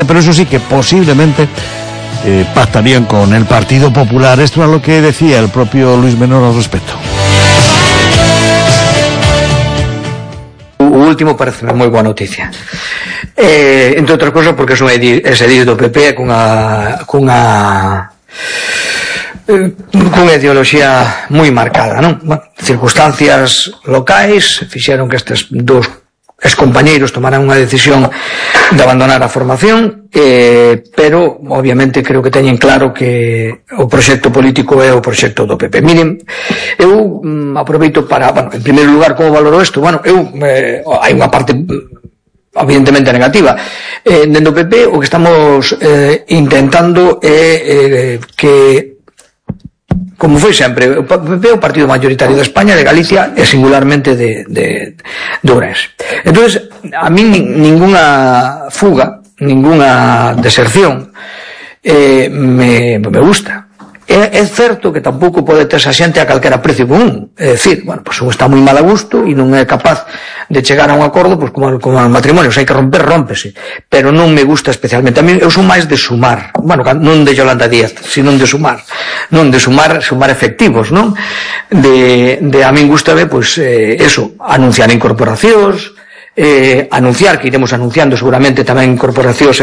pero eso sí que posiblemente pactarían con el Partido Popular. Esto es lo que decía el propio Luis Menor al respecto. O último parece moi boa noticia, entre outras cosas porque son ese edil do PP cunha ideoloxía moi marcada, non? Circunstancias locais fixeron que estes dous excompañeiros tomaran unha decisión de abandonar a formación, pero obviamente creo que teñen claro que o proxecto político é o proxecto do PP. Miren, eu aproveito para, en primeiro lugar, como valoro isto? Hai unha parte evidentemente negativa. Dentro do PP o que estamos intentando é que, como foi sempre, o PP é o partido mayoritario de España, de Galicia e singularmente de Ourense. Entonces, a mí ninguna fuga, ninguna deserción me gusta. É certo que tampouco pode ter esa xente a calquera precio común. É dicir, pues un está moi mal a gusto e non é capaz de chegar a un acordo, pues como no matrimonio, se hai que romper, rómpese. Pero non me gusta especialmente. A mí eu son máis de sumar. Non de Yolanda Díaz, sino de sumar. Non de sumar efectivos, non? A min gustame, pues, eso, anunciar incorporacións, anunciar que iremos anunciando seguramente tamén incorporacións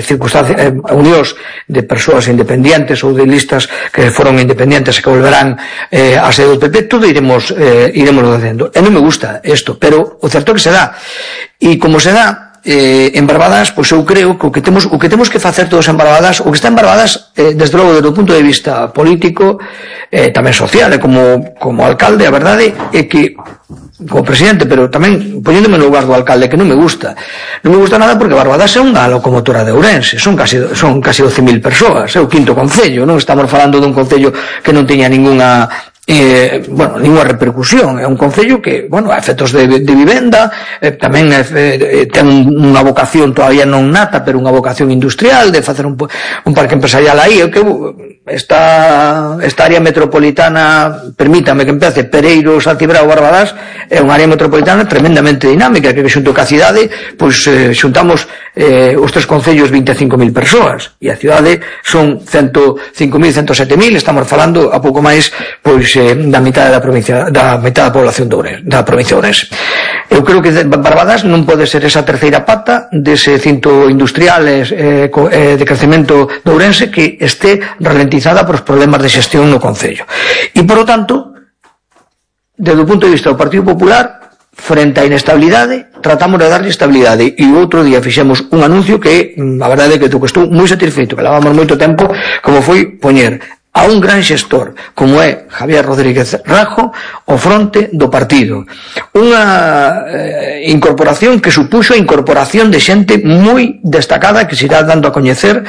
circunstancias, unións de persoas independientes ou de listas que foron independientes e que volverán a ser do PP. Todo iremos facendo. E non me gusta isto, pero o certo que se dá, e como se dá en Barbadas, pois eu creo que o que temos que facer todos en Barbadas, o que está en Barbadas, desde logo desde o punto de vista político, tamén social, e como alcalde, a verdade é que como presidente, pero tamén poñéndome no lugar do alcalde, que non me gusta nada, porque Barbadas é unha locomotora de Ourense, son casi 12.000 persoas, é o quinto concello, non estamos falando dun concello que non teña ninguna repercusión. É un concello que, a efectos de vivenda, tamén ten unha vocación todavía non nata, pero unha vocación industrial de facer un parque empresarial aí. Esta área metropolitana, permítame que empece, Pereiros, Altibrao, Barbadas, é unha área metropolitana tremendamente dinámica, que xunto ca cidade, pois xuntamos os tres concellos 25.000 persoas, e a cidade son 105.000, 107.000, estamos falando a pouco máis, pois, da mitad da provincia, da mitad da población da provincia de Ourense. Eu creo que Barbadas non pode ser esa terceira pata dese cinto industrial de crecemento de Ourense que este ralentizada por os problemas de xestión no concello. E, por lo tanto, desde o punto de vista do Partido Popular, frente á inestabilidade, tratamos de darlle estabilidade, e outro día fixemos un anuncio que, a verdade é que estou moi satisfeito, que levamos moito tempo, como foi poñer a un gran xestor como é Javier Rodríguez Rajo ao fronte do partido. Unha incorporación que supuxo a incorporación de xente moi destacada que se irá dando a coñecer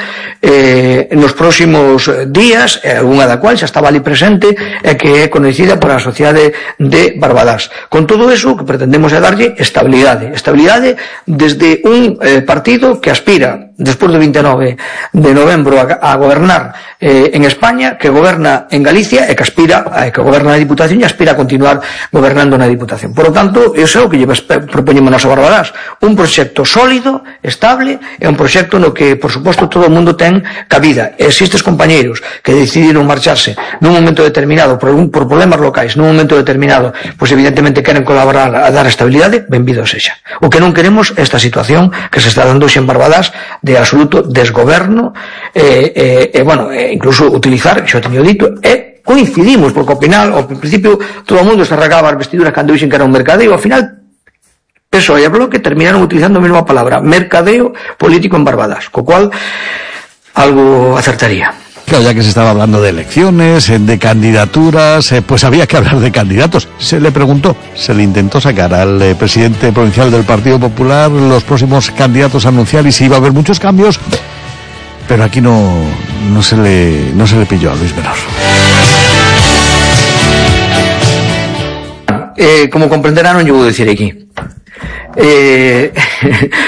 nos próximos días, algunha da cual xa estaba ali presente e que é conhecida por a sociedade de Barbadas. Con todo eso, o que pretendemos é darlle estabilidade desde un partido que aspira despois do 29 de novembro a gobernar en España, que goberna en Galicia e que goberna na Diputación e aspira a continuar gobernando na Diputación. Por lo tanto, iso é o que propoñemos a Barbadas, un proxecto sólido, estable, e un proxecto no que, por suposto, todo o mundo ten cabida. Existes compañeiros que decidiron marcharse nun momento determinado por problemas locais, nun momento determinado, pois evidentemente queren colaborar a dar estabilidade, benvido sexa. O que non queremos é esta situación que se está dando hoxe en Barbadas de absoluto desgoberno, incluso utilizar, xa teño dito, coincidimos, porque ao principio todo o mundo se arrancaba as vestiduras cando dixen que era un mercadeo, ao final PSOE e Bloque terminaron utilizando a mesma palabra, mercadeo político en Barbadas, co cual algo acertaría. Claro, ya que se estaba hablando de elecciones, de candidaturas, pues había que hablar de candidatos. Se le preguntó, se le intentó sacar al presidente provincial del Partido Popular los próximos candidatos a anunciar y si iba a haber muchos cambios, pero aquí no se le pilló a Luis Menor. Como comprenderán, non lle vou dicir aquí.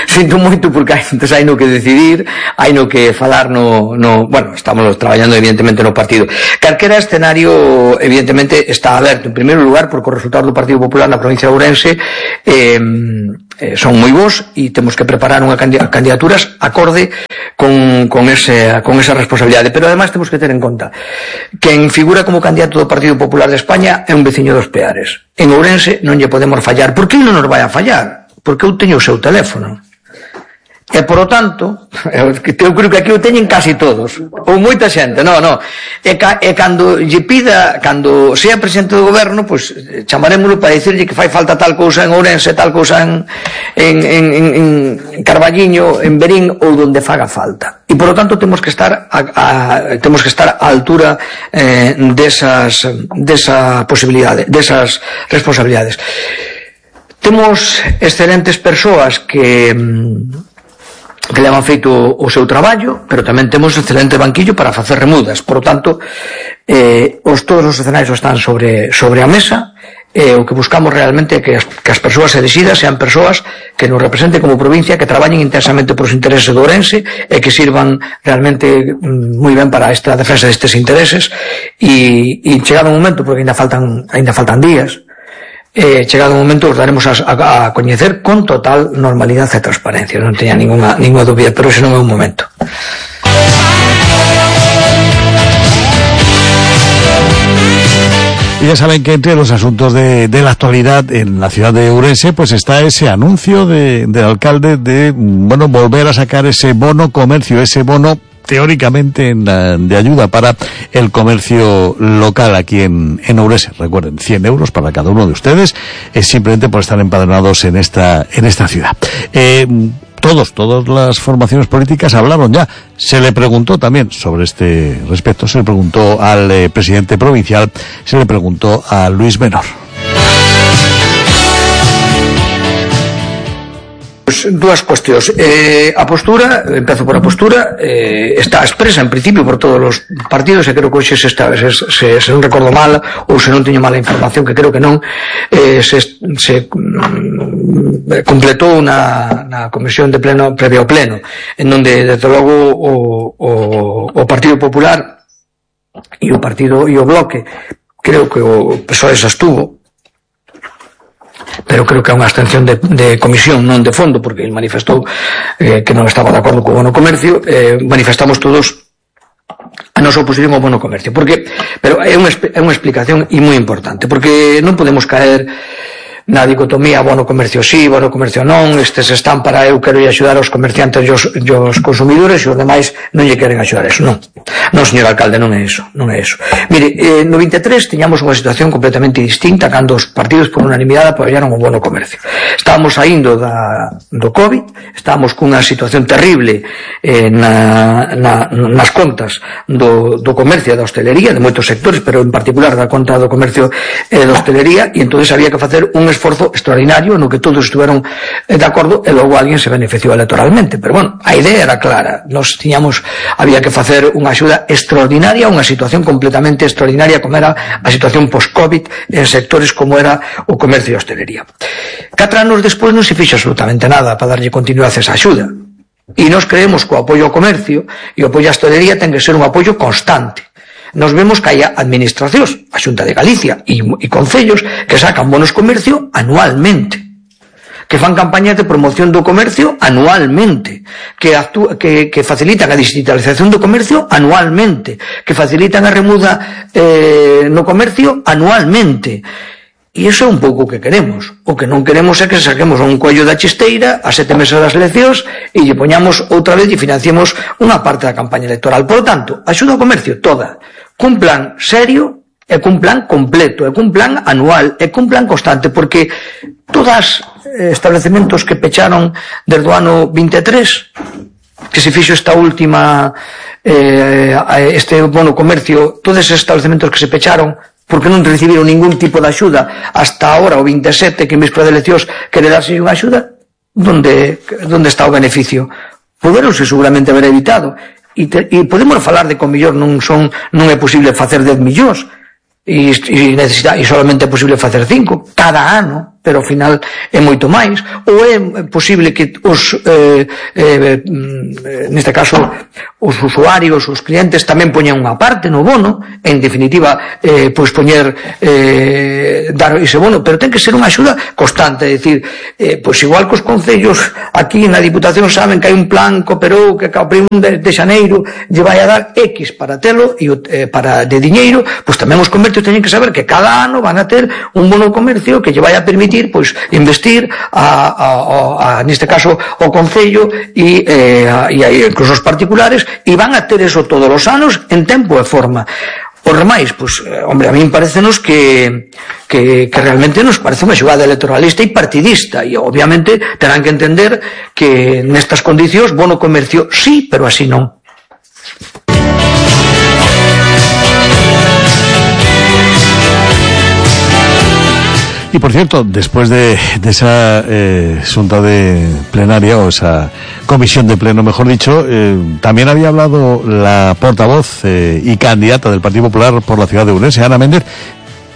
sinto moito porque hai no que decidir, hai no que falar bueno, estamos traballando evidentemente no partido. Calquera escenario evidentemente está aberto, en primeiro lugar porque o resultado do Partido Popular na provincia de Ourense son moi bons e temos que preparar unha candidaturas acorde con esa responsabilidade, pero ademais temos que ter en conta quen figura como candidato do Partido Popular de España é un veciño dos Peares. En Ourense non lle podemos fallar. Por que non nos vai a fallar? Porque eu teño o seu teléfono. E, por o tanto, eu creo que aquí o teñen casi todos, ou moita xente, e cando lle pida, cando sea presidente do goberno, pois chamarémoslo para dicirlle que fai falta tal cousa en Ourense, tal cousa en Carballiño, en Verín, ou donde faga falta. E, por o tanto, temos que estar á altura desa posibilidade, desas responsabilidades. Temos excelentes persoas que levan feito o seu traballo, pero tamén temos excelente banquillo para facer remudas. Por lo tanto, todos os escenarios están sobre a mesa, o que buscamos realmente é que as persoas elexidas sean persoas que nos representen como provincia, que traballen intensamente por os intereses do Ourense e que sirvan realmente moi ben para esta defensa destes intereses e chegado un momento, porque ainda faltan días, chegado o momento os daremos a coñecer con total normalidade e transparencia, non teña ninguna dúbida, pero ese non é un momento. Y ya saben que entre los asuntos de la actualidad en la ciudad de Ourense pues está ese anuncio del alcalde de volver a sacar ese bono comercio, ese bono teóricamente de ayuda para el comercio local aquí en Ourense. Recuerden, 100 euros para cada uno de ustedes, es simplemente por estar empadronados en esta ciudad. Todas las formaciones políticas hablaron ya. Se le preguntó también sobre este respecto, se le preguntó al presidente provincial, se le preguntó a Luis Menor. Dúas cuestións. A postura, empezo por a postura, está expresa en principio por todos os partidos, e creo que hoxe se non recordo mal ou se non teño mala información, que creo que non, se completou na comisión de pleno previo ao pleno, en donde desde logo o Partido Popular e o Bloque, creo que o PSOE xa estuvo, pero creo que é unha abstención de comisión, non de fondo, porque ele manifestou que non estaba de acordo co bono comercio. Manifestamos todos a nosa oposición ao bono comercio, pero é unha explicación e moi importante, porque non podemos caer na dicotomía bono comercio sí, bono comercio non, estes están para eu quero axudar aos comerciantes e os consumidores e os demais non lle queren axudar eso, non, señor alcalde, non é eso. Mire, no 23 tiñamos unha situación completamente distinta cando os partidos por unanimidade apoiaron o bono comercio. Estábamos saindo do COVID, estábamos cunha situación terrible nas contas do comercio e da hostelería, de moitos sectores, pero en particular da conta do comercio e da hostelería, e entonces había que facer un esforzo extraordinario no que todos estuveron de acordo e logo alguén se beneficiou electoralmente, pero bueno, a idea era clara, había que facer unha axuda extraordinaria, unha situación completamente extraordinaria como era a situación post-COVID en sectores como era o comercio e a hostelería. 4 anos despois non se fixo absolutamente nada para darlle continuidade a esa axuda, e nós creemos que o apoio ao comercio e o apoio á hostelería ten que ser un apoio constante. Nos vemos que hai administracións, a Xunta de Galicia e concellos que sacan bonos comercio anualmente, que fan campañas de promoción do comercio anualmente, que facilitan a digitalización do comercio anualmente, que facilitan a remuda no comercio anualmente. E iso é un pouco o que queremos. O que non queremos é que saquemos un coello da chisteira a 7 meses das eleccións e lle poñamos outra vez e financiemos unha parte da campaña electoral. Por lo tanto, axuda ao comercio toda, cun plan serio e cun plan completo, e cun plan anual, e cun plan constante, porque todos estabelecementos que pecharon desde o ano 23, que se fixo esta última este bono comercio, todos esos estabelecementos que se pecharon porque non recibiron ningún tipo de axuda hasta ahora o 27, que en víspera de eleccións quere darse unha axuda, onde está o beneficio? Poderonse seguramente haber evitado, e podemos falar de que o mellor non é posible facer 10 millóns e solamente é posible facer 5 cada ano, pero ao final é moito máis, ou é posible que os neste caso os usuarios, os clientes tamén poñan unha parte no bono, en definitiva pois poñer dar ese bono, pero ten que ser unha axuda constante, é dicir, pois igual que os concellos aquí na Diputación saben que hai un plan cooperou que ao 1 de xaneiro lle vai a dar X para telo e para de diñeiro, pois tamén os comercios teñen que saber que cada ano van a ter un bono comercio que lle vai a permitir pois investir neste caso o concello e incluso os particulares, e van a ter eso todos os anos en tempo e forma. Os remais, pois, hombre, a min parecenos que realmente nos parece unha xogada electoralista e partidista, e obviamente terán que entender que nestas condicións bono comercio sí, pero así non. Y por cierto, después de esa junta de plenaria, o esa comisión de pleno, mejor dicho, también había hablado la portavoz y candidata del Partido Popular por la ciudad de Ourense, Ana Méndez,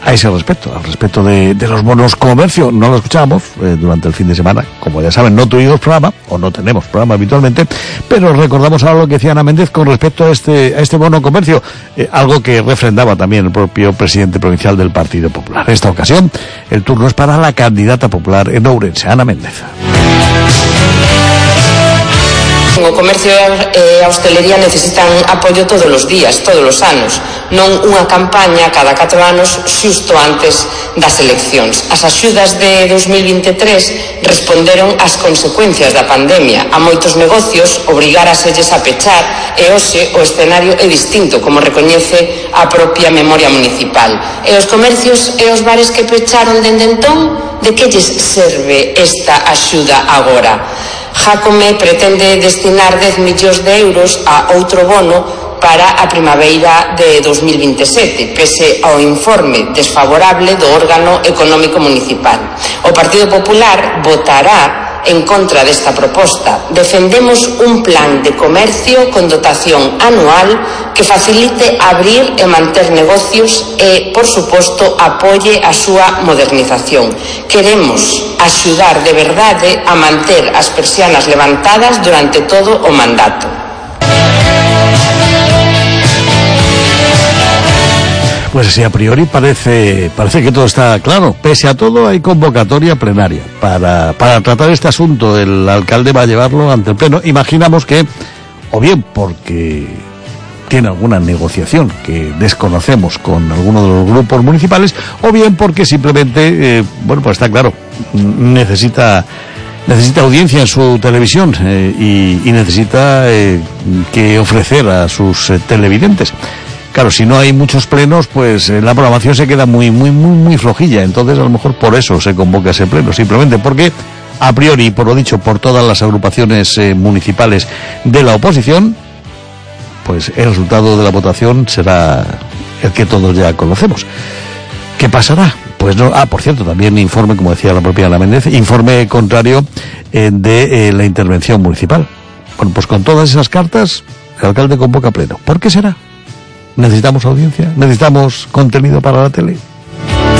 a ese respecto, al respecto de los bonos comercio. No lo escuchamos durante el fin de semana, como ya saben, no tuvimos programa, o no tenemos programa habitualmente, pero recordamos ahora lo que decía Ana Méndez con respecto a este bono comercio, algo que refrendaba también el propio presidente provincial del Partido Popular. En esta ocasión, el turno es para la candidata popular en Ourense, Ana Méndez. O comercio e a hostelería necesitan apoio todos os días, todos os anos, non unha campaña cada 4 anos xusto antes das eleccións. As axudas de 2023 responderon ás consecuencias da pandemia. A moitos negocios obrigáraselles a pechar e hoxe o escenario é distinto, como recoñece a propia memoria municipal. E os comercios e os bares que pecharon dende entón, de que lles serve esta axuda agora? Jácome pretende destinar 10 millóns de euros a outro bono para a primavera de 2027, pese ao informe desfavorable do órgano económico municipal. O Partido Popular votará en contra desta proposta. Defendemos un plan de comercio con dotación anual que facilite abrir e manter negocios e, por suposto, apoie a súa modernización. Queremos axudar de verdade a manter as persianas levantadas durante todo o mandato. Pues así a priori parece que todo está claro. Pese a todo hay convocatoria plenaria para tratar este asunto. El alcalde va a llevarlo ante el pleno. Imaginamos que, o bien porque tiene alguna negociación que desconocemos con alguno de los grupos municipales, o bien porque simplemente, pues está claro, necesita audiencia en su televisión y necesita que ofrecer a sus televidentes. Claro, si no hay muchos plenos, pues la programación se queda muy flojilla. Entonces, a lo mejor por eso se convoca ese pleno, simplemente porque, a priori, por lo dicho por todas las agrupaciones municipales de la oposición, pues el resultado de la votación será el que todos ya conocemos. ¿Qué pasará? Pues no. Por cierto, también informe, como decía la propia Ana Méndez, informe contrario de la intervención municipal. Bueno, pues con todas esas cartas, el alcalde convoca pleno. ¿Por qué será? ¿Necesitamos audiencia? ¿Necesitamos contenido para la tele?